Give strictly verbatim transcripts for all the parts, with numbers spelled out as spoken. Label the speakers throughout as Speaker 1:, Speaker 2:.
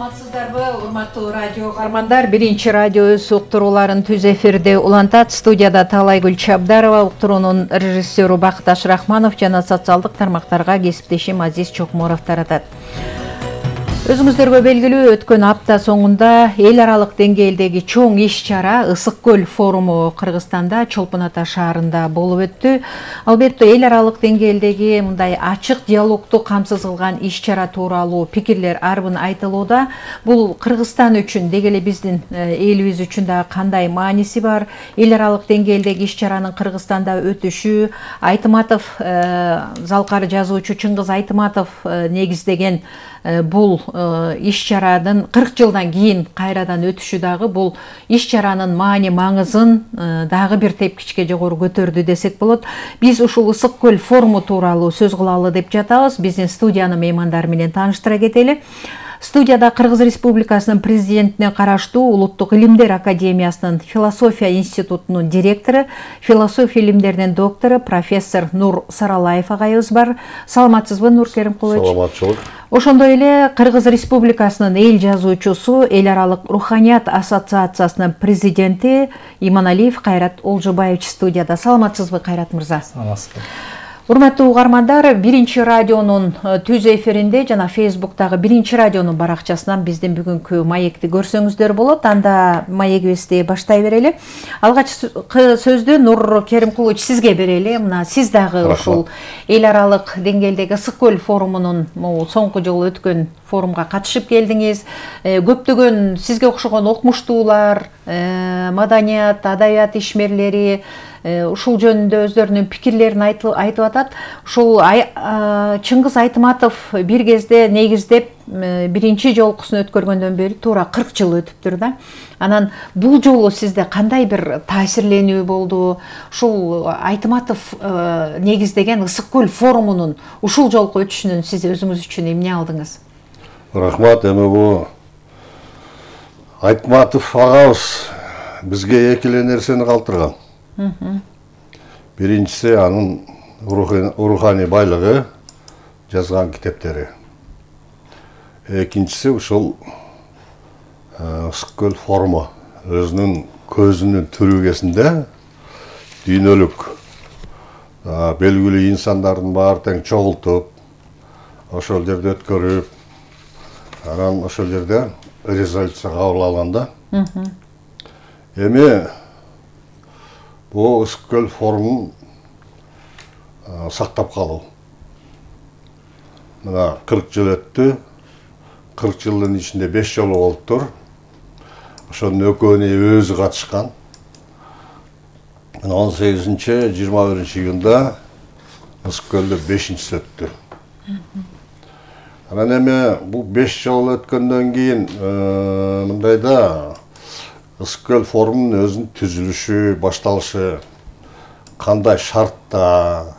Speaker 1: Саламатсыздарбы, урматтуу радио каармандар. Биринчи радио өз уктурууларын түз эфирде улантат. Студияда Талайгүл Чабдарова, уктуруунун режиссеру Бакташ Рахманов жана социалдык тармактарга кесиптешим Азиз Чокморов таратат. Өзүңүздөргө белгилүү, өткөн апта соңунда эл аралык деңгээлдеги чоң иш-чара Ысык көл форуму Кыргызстанда Чолпон Ата шаарында болуп өттү. Албетте эл аралык деңгээлдеги мындай ачык диалогду камсыз кылган иш-чара тууралуу пикирлер арбын айтылууда. Бул Кыргызстан үчүн, деги эле биздин элибиз үчүн да кандай мааниси бар? Эл аралык деңгээлдеги иш-чаранын Кыргызстанда өтүшү, Айтматов, залкар жазуучу Чыңгыз Айтматов негиздеген бул иш-чаранын кырк жылдан кийин кайрадан өтүшү дагы бул иш-чаранын маани маңызын дагы бир тепкичке жогору көтөрдү десек болот. Биз ушул Ысык көл форуму тууралуу сөз кылалы деп жатабыз. Биздин студиянын меймандары менен тааныштыра кетели. Студияда Кыргыз Республикасынын президентине караштуу Улуттук илимдер академиясынын философия институтунун директору, философия илимдеринин доктору профессор Нур Саралаев агайыбыз бар. Саламатсызбы, Нур Керимкулович?
Speaker 2: Саламатчылык.
Speaker 1: Ошондой эле Кыргыз Республикасынын эл жазуучусу, эл аралык руханият ассоциациясынын президенти Иманалиев Кайрат Олжобаевич студияда. Саламатсызбы, Кайрат мырза?
Speaker 2: Саламатсызбы.
Speaker 1: Урматтуу угармандар, биринчи радионун түз эфиринде жана Фейсбуктагы биринчи радионун баракчасынан биздин бүгүнкү маекти көрсөңүздөр болот. Анда маегибизди баштай берели. Алгач сөздү Нур Керимкулович сизге берели. Мына сиз дагы ушул эл аралык деңгээлдеги Ысык көл форумунун соңку жолу өткөн форумга катышып келдиңиз. Көптөгөн сизге окшогон окумуштуулар, маданият, адабият ишмерлери ушул жөнүндө өздөрүнүн пикирлерин айтып атат. Ушул Чыңгыз Айтматов бир кезде негиздеп биринчи жолкусун өткөргөндөн бери туура кырк жыл өтүптүр да. Анан бул жолу сизде кандай бир таасирленүү болду? Ушул Айтматов негиздеген Ысык көл форумунун ушул жолку өтүшүнөн сиз өзүңүз үчүн эмне алдыңыз?
Speaker 2: Рахмат. Эми бул Айтматов агабыз бизге эки эле нерсени калтырган. Биринчиси анын руханий байлыгы, жазган китептери. Экинчиси ушул Ысык көл форуму өзүнүн көзүнүн түрүгесинде дүйнөлүк белгилүү инсандардын баары тең чогултуп, ошол жерде өткөрүп, анан ошол жерде резолюция кабыл алганда. Эми бул Ысык көл форумун сактап калуу. Мына кырк жыл өттү. кырк жылдын ичинде беш жолу болуптур. Ошонун экөөнө өзү катышкан. он сегизинчи жыйырма биринчи июнда Ысык көлдө бешинчиси өттү. Анан эми бул беш жол өткөндөн кийин мындайда Ысык көл форумунун өзүнүн түзүлүшү, башталышы, кандай шартта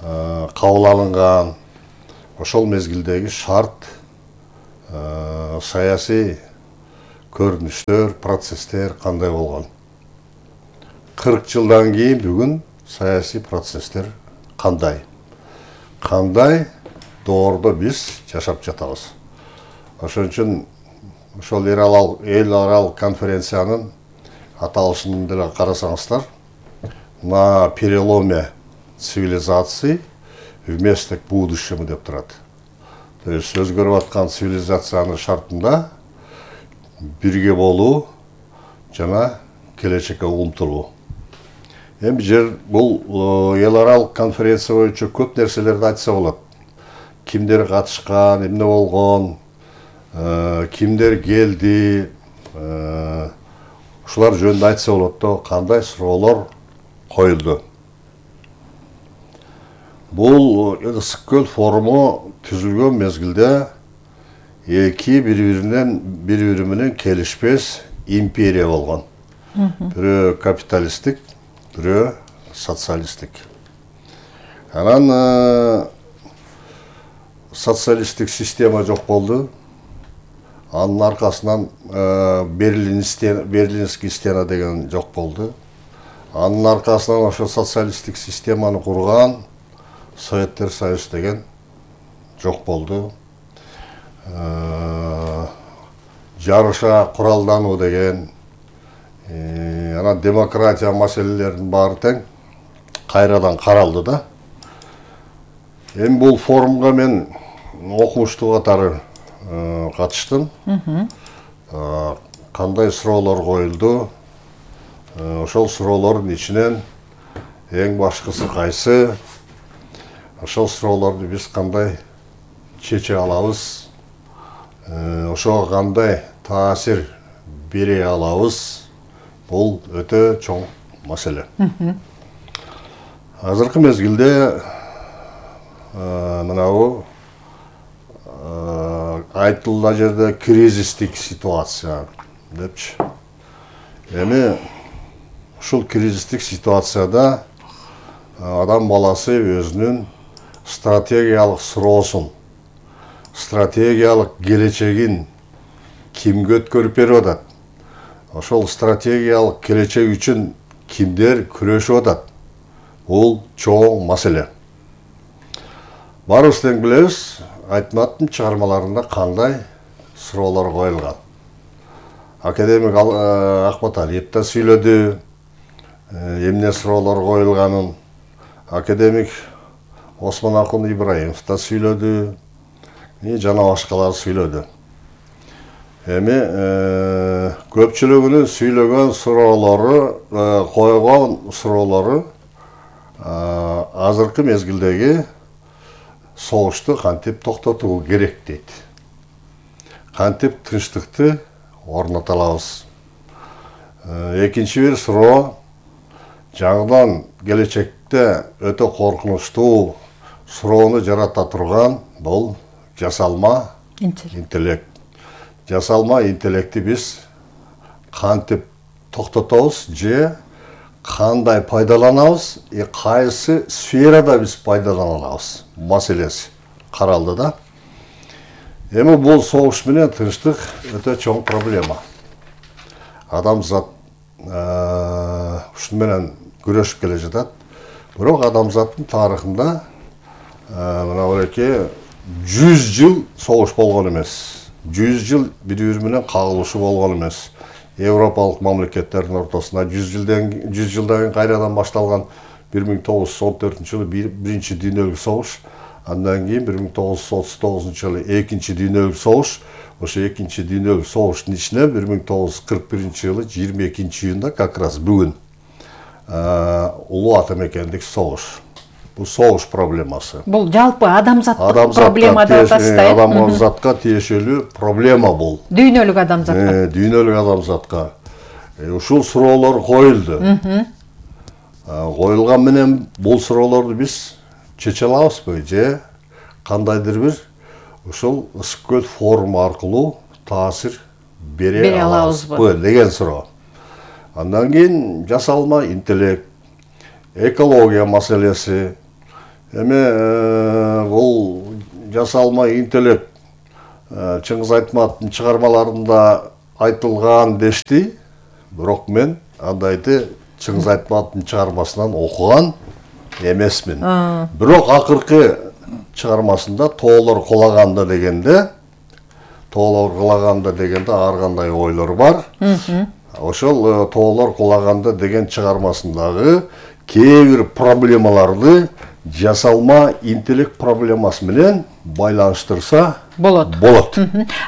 Speaker 2: кабыл алынган, ошол мезгилдеги шарт, саясий көрүнүштөр, процесстер кандай болгон. кырк жылдан кийин бүгүн саясий процесстер кандай? Кандай доордо биз жашап жатабыз. Ошон үчүн ошол эл аралык конференциянын аталышын деле карасаңыздар, на переломе цивилизаций вместе к будущему деп турат. То есть өзгөрүп аткан цивилизациянын шартында бирге болуу жана келечекке умтулуу. Эми жер бул эл аралык конференция боюнча көп нерселерди айтса болот. Кимдер катышкан, эмне болгон, кимдер келди, ушулар жөнүндө айтса болот да, кандай суроолор коюлду. Бул Ысык көл форуму түзүлгөн мезгилде эки бири-биринен бири-бири менен келишпес империя болгон. Бирөө капиталисттик, бирөө социалисттик. Анан социалисттик система жок болду. Анын аркасынан Берлинский стена деген жок болду. Анын аркасынан ошо социалисттик системаны курган Советтер Союз деген жок болду. жарыша куралдануу деген, анан демократия маселелеринин баары тең кайрадан каралды да. Эми бул форумга мен окумуштуу катары катыштым. Кандай суроолор коюлду? Ошол суроолордун ичинен эң башкысы кайсы? Ошол суроолорду биз кандай чече алабыз? Ошого кандай таасир бере алабыз? Бул өтө чоң маселе. Азыркы мезгилде мынабу айтылган жерде кризистик ситуация депчи. Эми ушул кризистик ситуацияда адам баласы өзүнүн стратегиялык суроосун, стратегиялык келечегин кимге өткөрүп берип атат? Ошол стратегиялык келечек үчүн кимдер күрөшүп атат? Бул чоң маселе. Баарыбыз тең билебиз, Айтматовдун чыгармаларында кандай суроолор коюлган. Академик Акмат Алиев да сүйлөдү, эмне суроолор коюлганын. Академик Осмон Акун Ибраимов да сүйлөдү, жана башкалар сүйлөдү. Эми көпчүлүгүнүн сүйлөгөн суроолору, койгон суроолору азыркы мезгилдеги согушту кантип токтотуу керек дейт. Кантип тынчтыкты орното алабыз. Экинчи бир суроо, жаңыдан келечекте өтө коркунучтуу суроону жарата турган бул жасалма интеллект. Жасалма интеллекти биз кантип токтотобуз же кандай пайдаланабыз, и кайсы сферада биз пайдалана алабыз маселеси каралды да. Эми бул согуш менен тынчтык өтө чоң проблема. Адамзат ушун менен күрөшүп келе жатат. Бирок адамзаттын тарыхында мына бирөкө жүз жыл согуш болгон эмес. жүз жыл бири-бири менен кагылышуу болгон эмес. Европалык мамлекеттердин ортосунда жүз жылдан жүз жылдан кийин кайрадан башталган бир миң тогуз жүз он төртүнчү жылы биринчи дүйнөлүк согуш, андан кийин бир миң тогуз жүз отуз тогузунчу жылы экинчи дүйнөлүк согуш. Ошо экинчи дүйнөлүк согуштун ичине бир миң тогуз жүз кырк биринчи жылы жыйырма экинчи июнда как раз бүгүн улуу ата мекендик согуш. Бул согуш проблемасы.
Speaker 1: Бул жалпы адамзаттык проблема деп атасызда.
Speaker 2: Адамзатка тиешелүү проблема бул.
Speaker 1: Дүйнөлүк адамзатка.
Speaker 2: Дүйнөлүк адамзатка. Ушул суроолор коюлду. Коюлган менен бул суроолорду биз чече алабызбы же кандайдыр бир ушул Ысык көл форуму аркылуу таасир бере алабызбы деген суроо. Андан кийин жасалма интеллект, экология маселеси. Эми бул жасалма интеллект Чыңгыз Айтматовдун чыгармаларында айтылган дешти, бирок мен андайды Чыңгыз Айтматовдун чыгармасынан окуган эмесмин. Бирок акыркы чыгармасында тоолор кулаганда дегенде, тоолор кулаганда дегенде ар кандай ойлор бар. Ошол тоолор кулаганда деген чыгармасындагы кээ бир проблемаларды жасалма интеллект проблемасы менен байланыштырса
Speaker 1: болот.
Speaker 2: Болот.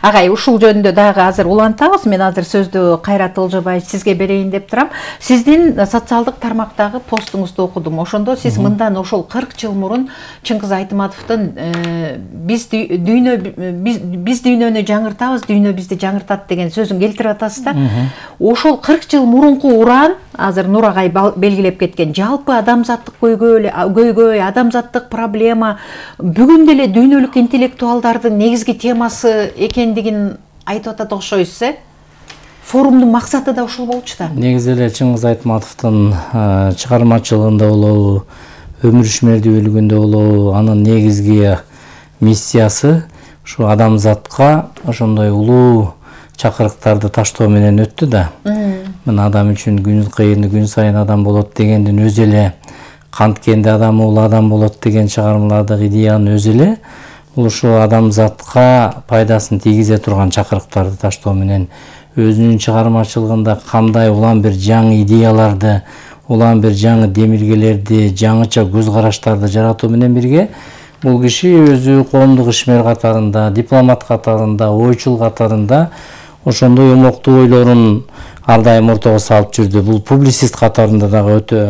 Speaker 1: Агай, ушул жөнүндө дагы азыр улантабыз. Мен азыр сөздү Кайрат Ылжыбай сизге берейин деп турам. Сиздин социалдык тармактагы постуңузду окудум. Ошондо сиз мындан ошол кырк жыл мурун Чыңгыз Айтматовдун биз дүйнө биз дүйнөнү жаңыртабыз, дүйнө бизди жаңыртат деген сөзүн келтирип атасыз да. Ошол кырк жыл мурунку уран азыр Нур агай белгилеп кеткен жалпы адамзаттык көйгөй, адамзаттык проблема бүгүн деле дүйнөлүк интеллектуалдардын негизги темасы экендигин айтып атат окшойсуз, э? Форумдун максаты да ушул болчу да.
Speaker 3: Негизи эле Чыңгыз Айтматовдун чыгармачылыгында болобу, өмүр ишмердүүлүгүндө болобу, анын негизги миссиясы ушу адамзатка ошондой улуу чакырыктарды таштоо менен өттү да. Мына адам үчүн күн кыйын, күн сайын адам болот дегендин өзү эле, канткенде адам улуу адам болот деген чыгармалардагы идеянын өзү эле бул ушу адамзатка пайдасын тийгизе турган чакырыктарды таштоо менен өзүнүн чыгармачылыгында кандай улам бир жаңы идеяларды, улам бир жаңы демилгелерди, жаңыча көз караштарды жаратуу менен бирге бул киши өзү коомдук ишмер катарында, дипломат катарында, ойчул катарында ошондой умоктуу ойлорун ар дайым ортого салып жүрдү. Бул публицист катарында дагы өтө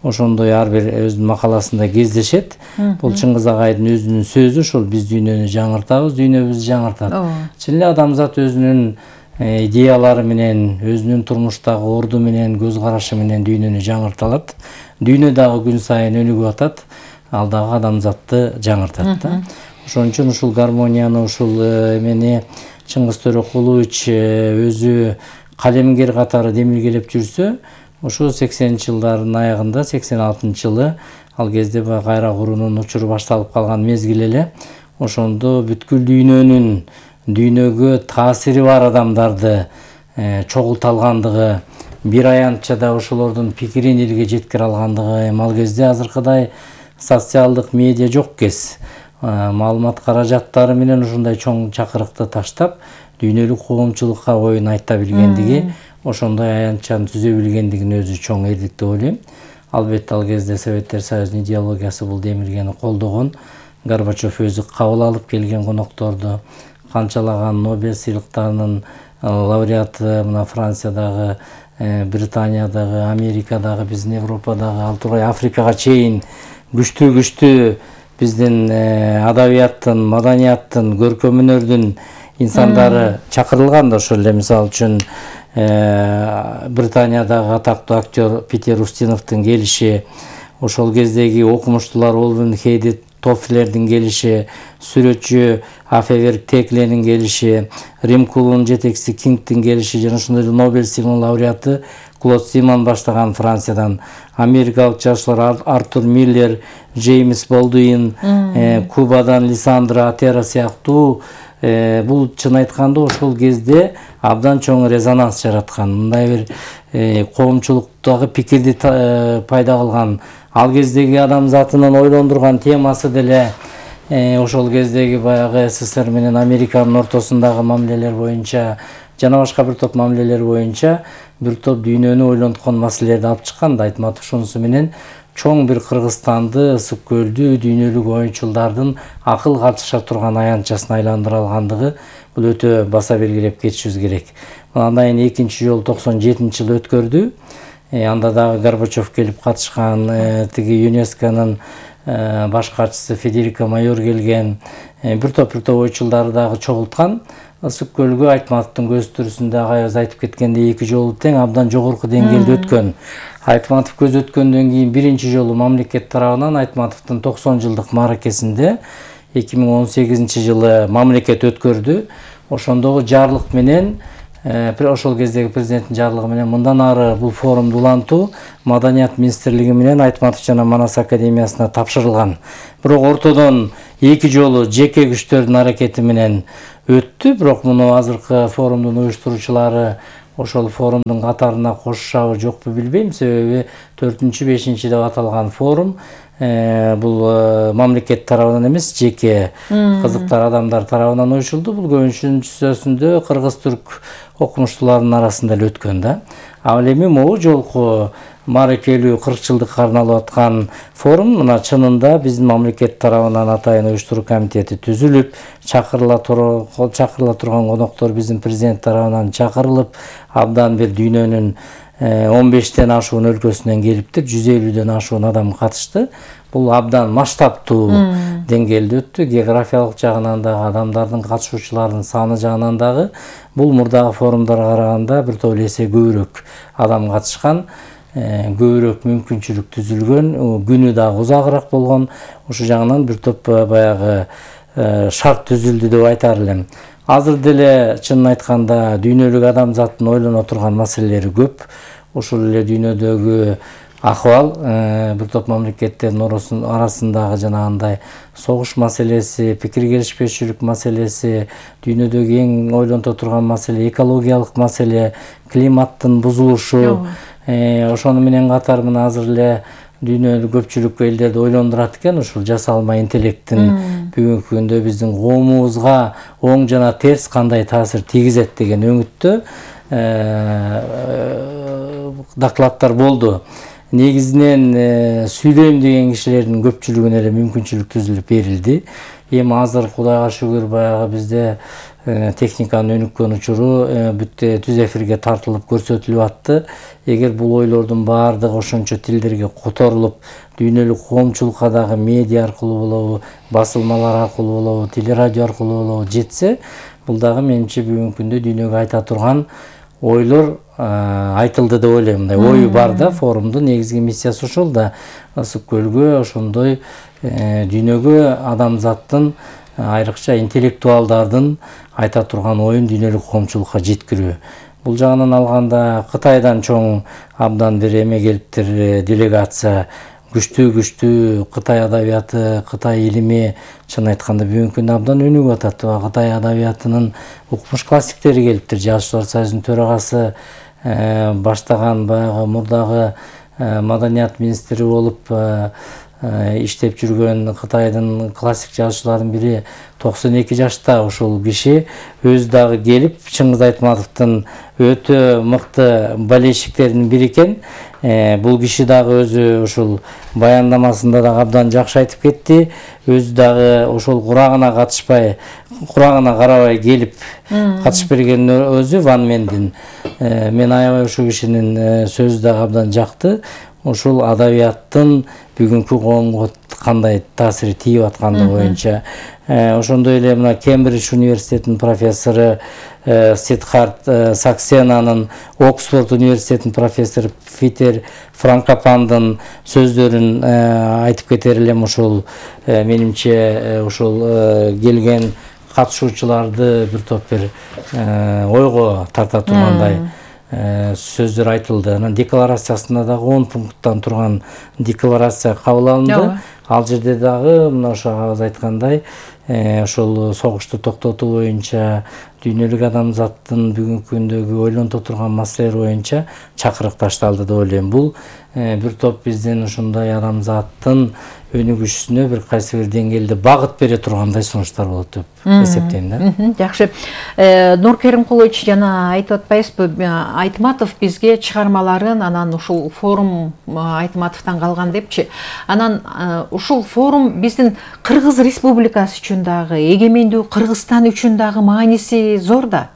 Speaker 3: ошондой ар бир өзүнүн макаласында кездешет. Бул Чыңгыз агайдын өзүнүн сөзү, ушул биз дүйнөнү жаңыртабыз, дүйнө бизди жаңыртат. Чын эле адамзат өзүнүн идеялары менен, өзүнүн турмуштагы орду менен, көз карашы менен дүйнөнү жаңырта алат. Дүйнө дагы күн сайын өнүгүп атат, ал дагы адамзатты жаңыртат да. Ошон үчүн ушул гармонияны, ушул эмени Чыңгыз Төрөкулович өзү калемгер катары демилгелеп жүрсө, ошо сексенинчи жылдардын аягында, сексен алтынчы жылы ал кезде баягы кайра куруунун учуру башталып калган мезгил эле, ошондо бүткүл дүйнөнүн дүйнөгө таасири бар адамдарды чогулта алгандыгы, бир аянтчада ошолордун пикирин элге жеткире алгандыгы, эми ал кезде азыркыдай социалдык медиа жок кез. Маалымат каражаттары менен ушундай чоң чакырыкты таштап, дүйнөлүк коомчулукка оюн айта билгендиги, ошондой аянтчаны түзө билгендигин өзү чоң эрлик деп ойлойм. Албетте ал кезде Советтер Союзунун идеологиясы бул демилгени колдогон. Горбачев өзү кабыл алып келген конокторду, канчалаган Нобель сыйлыктарынын лауреаты мына Франциядагы, Британиядагы, Америкадагы, биздин Европадагы, ал тургай Африкага чейин күчтүү-күчтүү биздин адабияттын, маданияттын, көркөм өнөрдүн инсандары чакырылган да. Ошол эле мисалы үчүн Британиядагы атактуу актер Питер Устиновдун келиши, ошол кездеги окумуштуулар Олвин Хейди Тоффлердин келиши, сүрөтчү Афеверк Текленин келиши, Рим клубунун жетекчиси Кингдин келиши жана ошондой эле Нобель сыйлыгынын лауреаты Клод Симон баштаган Франциядан, америкалык жазуучулар Артур Миллер, Джеймс Болдуин, Кубадан Лисандро Атера сыяктуу бул чын айтканда ошол кезде абдан чоң резонанс жараткан, мындай бир коомчулуктагы пикирди пайда кылган, ал кездеги адамзатынын ойлондурган темасы деле ошол кездеги баягы СССР менен Американын ортосундагы мамилелер боюнча жана башка бир топ мамилелер боюнча бир топ дүйнөнү ойлонткон маселелерди алып чыккан да. Айтматов ошонусу менен чоң бир Кыргызстанды, ысык көлдү дүйнөлүк оюнчулдардын акыл катыша турган аянтчасына айландыра алгандыгы бул өтө баса белгилеп кетишибиз керек. Андан кийин экинчи жолу токсон жетинчи жылы өткөрдү. Анда дагы Горбачев келип катышкан, тиги ЮНЕСКОнун баш катчысы Федерико Майор келген, бир топ бир топ ойчулдарды дагы чогулткан. Ысык көлгө Айтматовдун көз түрүсүндө агайыбыз айтып кеткендей эки жолу тең абдан жогорку деңгээлде өткөн. Айтматов көз өткөндөн кийин биринчи жолу мамлекет тарабынан Айтматовдун токсон жылдык мааракесинде эки миң он сегизинчи жылы мамлекет өткөрдү. Ошондогу жарлык менен, ошол кездеги президенттин жарлыгы менен мындан ары бул форумду улантуу Маданият министрлиги менен Айтматов жана Манас академиясына тапшырылган. Бирок ортодон эки жолу жеке күчтөрдүн аракети менен өттү. Бирок муну азыркы форумдун уюштуруучулары ошол форумдун катарына кошушабы жокпу билбейм. Себеби төртүнчү бешинчи деп аталган форум бул мамлекет тарабынан эмес, жеке кызыктар адамдар тарабынан уюшулду. Бул көбүнчөсүндө кыргыз-түрк окумуштуулардын арасында эле өткөн да. Ал эми могу жолку мааракелүү кырк жылдыкка арналып аткан форум мына чынында биздин мамлекет тарабынан атайын уюштуруу комитети түзүлүп, чакырыла чакырыла турган коноктор биздин президент тарабынан чакырылып, абдан бир дүйнөнүн он бештен ашуун өлкөсүнөн келиптир, жүз элүүдөн ашуун адам катышты. Бул абдан масштабтуу деңгээлде өттү. Географиялык жагынан дагы, адамдардын катышуучулардын саны жагынан дагы бул мурдагы форумдарга караганда бир топ эсе көбүрөөк адам катышкан, көбүрөөк мүмкүнчүлүк түзүлгөн, күнү дагы узагыраак болгон. Ошол жагынан бир топ баягы шарт түзүлдү деп айтар элем. Азыр деле чынын айтканда дүйнөлүк адамзаттын ойлоно турган маселелери көп. Ошол эле дүйнөдөгү акыбал, бир топ мамлекеттердин арасындагы жанагындай согуш маселеси, пикир келишпешчүлүк маселеси, дүйнөдөгү эң ойлонто турган маселе экологиялык маселе, климаттын бузулушу. Ошону менен катар мына азыр эле дүйнөлүк көпчүлүк элдерди ойлондурат экен. Ушул жасалма интеллекттин бүгүнкү күндө биздин коомубузга оң жана терс кандай таасир тийгизет деген өңүттө докладдар болду. Негизинен сүйлөйм деген кишилердин көпчүлүгүнө эле мүмкүнчүлүк түзүлүп берилди. Эми азыр Кудайга шүгүр баягы бизде техниканын өнүккөн учуру бүтө түз эфирге тартылып көрсөтүлүп атты. Эгер бул ойлордун баардыгы ошончо тилдерге которулуп, дүйнөлүк коомчулукка дагы медиа аркылуу болобу, басылмалар аркылуу болобу, телерадио аркылуу болобу жетсе, бул дагы менимче бүгүнкү күндө дүйнөгө айта турган ойлор айтылды деп ойлойм. Мындай ою бар да, форумдун негизги миссиясы ошол да. Ысык көлгө ошондой дүйнөгө адамзаттын, айрыкча интеллектуалдардын айта турган оюн дүйнөлүк коомчулукка жеткирүү. Бул жагынан алганда Кытайдан чоң абдан бир эме келиптир, делегация, күчтүү-күчтүү Кытай адабияты, Кытай илими, чын айтканда бүгүнкү күндө абдан өнүгүп атат. Кытай адабиятынын укмуш классиктери келиптир. Жазуучулар союзунун төрагасы баштаган баягы мурдагы маданият министри болуп иштеп жүргөн Кытайдын классик жазуучуларынын бири токсон эки жашта ушул киши өзү дагы келип Чыңгыз Айтматовдун өтө мыкты болельщиктеринин бири экен. Бул киши дагы өзү ушул баяндамасында дагы абдан жакшы айтып кетти. Өзү дагы ошол курагына катышпай, курагына карабай келип катышып берген өзү Ван Мендин. Мен аябай ушул кишинин сөзү дагы абдан жакты. Ушул адабияттын бүгүнкү коомго кандай таасири тийип аткандыгы боюнча. Ошондой эле мына Кембридж университетинин профессору Сидхарт Саксенанын, Оксфорд университетинин профессору Питер Франкопандын сөздөрүн айтып кетер элем. Ушул менимче ушул келген катышуучуларды бир топ бир ойго тарта тургандай сөздөр айтылды. Анан декларациясында дагы он пункттан турган декларация кабыл алынды. Ал жерде дагы мына ошо агабыз айткандай, ошол согушту токтотуу боюнча, дүйнөлүк адамзаттын бүгүнкү күндөгү ойлонто турган маселелер боюнча чакырык ташталды деп ойлойм. Бул бир топ биздин ушундай адамзаттын өнүгүшүнө бир кайсы бир деңгээлде багыт бере тургандай сунуштар болот деп эсептейм да.
Speaker 1: Жакшы. Нур Керимкулович жана айтып атпайсызбы, Айтматов бизге чыгармаларын анан ушул форум Айтматовдон калган депчи. Анан ушул форум биздин Кыргыз Республикасы үчүн дагы, эгемендүү Кыргызстан үчүн дагы мааниси зор да.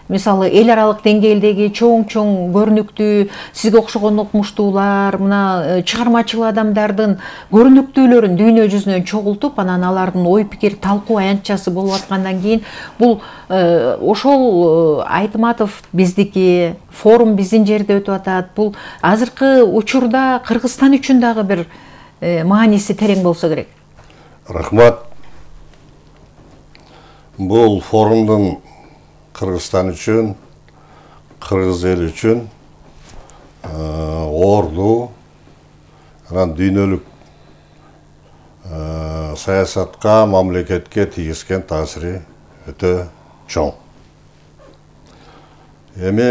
Speaker 1: Мисалы, эл аралык деңгээлдеги чоң-чоң көрүнүктүү, сизге окшогон окумуштуулар, мына чыгармачыл адамдардын көрүнүктүүлөрүн дүйнө жүзүнөн чогултуп, анан алардын ой пикир талкуу аянтчасы болуп аткандан кийин, бул ошол Айтматов биздики, форум биздин жерде өтүп атат. Бул азыркы учурда Кыргызстан үчүн дагы бир мааниси терең болсо керек.
Speaker 2: Рахмат. Бул форумдун Кыргызстан үчүн, кыргыз эл үчүн орду, анан дүйнөлүк саясатка, мамлекетке тийгизген таасири өтө чоң. Эми